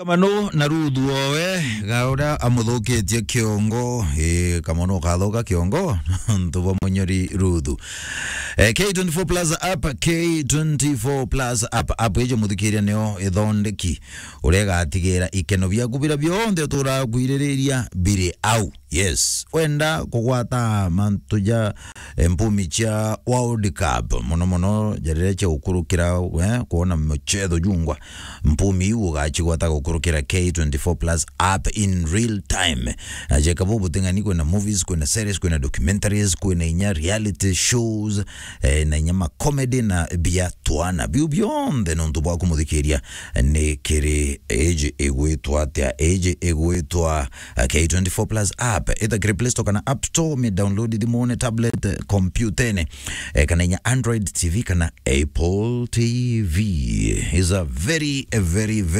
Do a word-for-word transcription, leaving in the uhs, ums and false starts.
Kamano na Ruthu owe, ga uria amuthukitie kiongo. Ii, Kamano ukathuka kiongo nontu bwa munyori Ruthu. Eh, K twenty-four plus app, K twenty-four plus app, app ijo muthikiria nio ithondeki uria igatigira ikeno biaku biria bionthe uturaga kwiririria biri au. Yes, wenda kugwata mantu ja, eh, mpumi cia World Cup, mono mono ja riria cia gukurukira, eh, kuona muchetho jungwa, mpumi iu ugacigwata gukurukira K twenty-four plus app in real time. Na jeka bu buting'ani, kwina movies, kwina series, kwina documentaries, kwina inya reality shows, eh, na inya ma comedy na bia twana. Biu bionthe nontu bwa kumuthikiria ni kiri iji igwitwa atia? Iji igwitwa, eh, K twenty-four plus app. Ita kiri Play Store kana App Store, mi download thimune, tablet, eh, kompyutene, eh, kana inya Android T V kana Apple T V. Is a very, a very, very